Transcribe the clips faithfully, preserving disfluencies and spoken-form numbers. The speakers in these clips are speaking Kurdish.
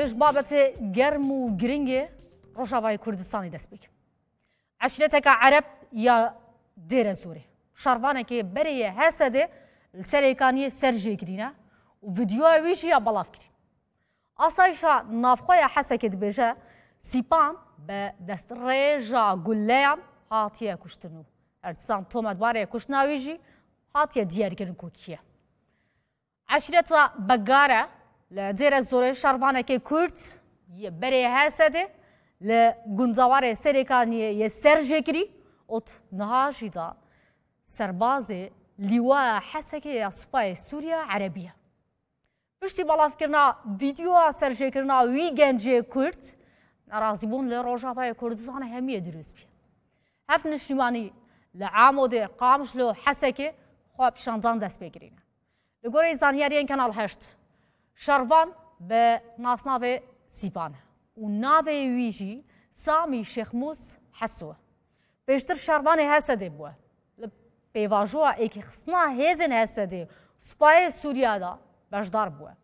Ji babetê germ û giringê Rojavayê Kurdistanê dest pê kir. Eşîreteke Ereb ya Dêrezorê şervanekê berê yê Hesedê li Serêkaniyê serjê kirîne û vîdeoya wî jî ya belav kirî. Asayişa navxwe ya Hesekê dibêje, Sîpan bi destrêja guleyan hatiye kuştin û her disan tometbarê kuştina wî jî hatiye diyarkirin ku kî ye. Eşîreta Begare li Dêrezorê şervanekê Kurd yê berê Hesedê li gundewarê Serêkaniyê yê serjê kirî û niha jî da serbazê Lîwaya Hesekê ya Supayê Sûriya Erebî ye. Piştî belavkirina vîdeoya serjêkirina wî gencê Kurd, nerazîbûn li Rojavayê Kurdistanê hemiyê dirûst bûye. Heft niştîmanî li Amodê, Qamişlo, Hesekê xwepişandan dest pê kirîne. Li gorî zanyariyên Kanal heşt, şervan bi nasnavê Sîpan e û navê wî jî Samî Şêxmûs Heso e. Pêştir şervanê Hesedê bûye. Li pêvajoya êkîxistina hêzên Hesedê û Supayê Sûriya de beşdar bûye.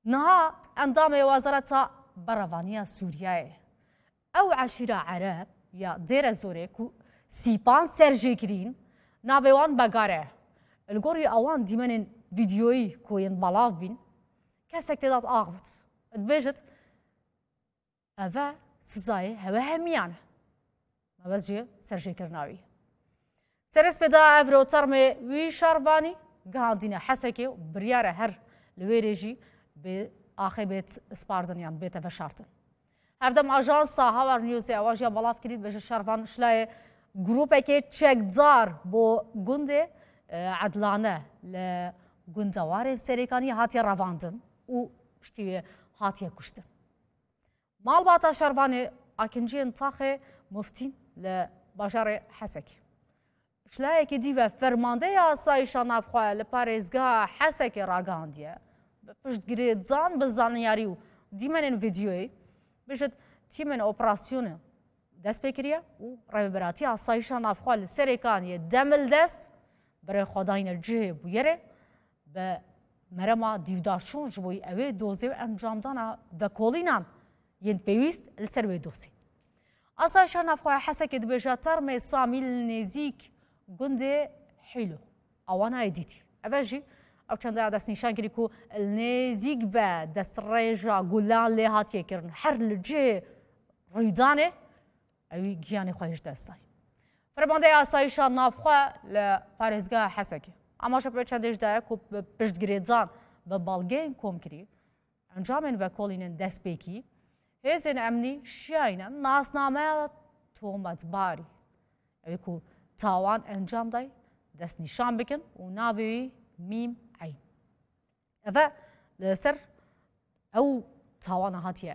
Niha endamê Wezareta Berevaniya Sûriyeyê. Ew eşîra Ereb ya Dêrezorê ku Sîpan serjê kirîn, navê wan Begare ye. Li gorî ewan dîmenên vîdeoyî ku yên belav bîn, kesek tê de axivit. Dibêjit, Eve sizayê hewe hemiyan e. Mebest ji serjêkirina wî. Serespêda evro termê wî şervanî gihandîne Hesekê û biryar e her li wê rê jî bê axê bêt spardin yan bête veşartin. Hevdem ajansa Hawer Newsê ewa jî ya belav kirî, dibêje şervan şilayê grûpekê çekdar bo gundê, e, Edlane li gundewarên Serêkaniyê hatiye revandin û piştî wê hatiye kuştin. Malbata şervanê Akinciyên Taxê Muftîn li bajarê Hesekê. Ji layekî dî ve fermandeya asayişa navxwe li parêzgeha Hesekê ragihandiye. Bi piştgirêdan bi zanyarî û dîmenên vîdeoyê, bêjit tîmên operasyonê dest pê kiriye û rêveberatiya asayişa navxwe li Serêkaniyê demildest berê xwe dayne cihê bûyerê. Bi merema dîvdarçûn ji bo ew ê dozê û encamdana vekolînan yên pêwîst li ser wê dozê. Asayişa navxweya Hesekê dibêje termê Samî li nêzîk gundê Hîlo awana yê dîtî. Eve jî ew çendaya destnîşan kirî ku li nêzîk ve destrêja gulan lê hatiye kirin. Her li cihê rûydanê ewî giyanê xwe ji dest dayî. Fermandeya asayişa navxwe li parêzgeha Hesekê amaje bi çendê jî daye ku bi piştgirêdan bi balgeyên komkirî encamên vekolînên destpêkî hêzên emnî şiyayîne nasnameya tometbarî, ewî ku tawan encam dayî, destnîşan bikin û navê wî Mîm Eyn. Eve li ser ew tawana hatiye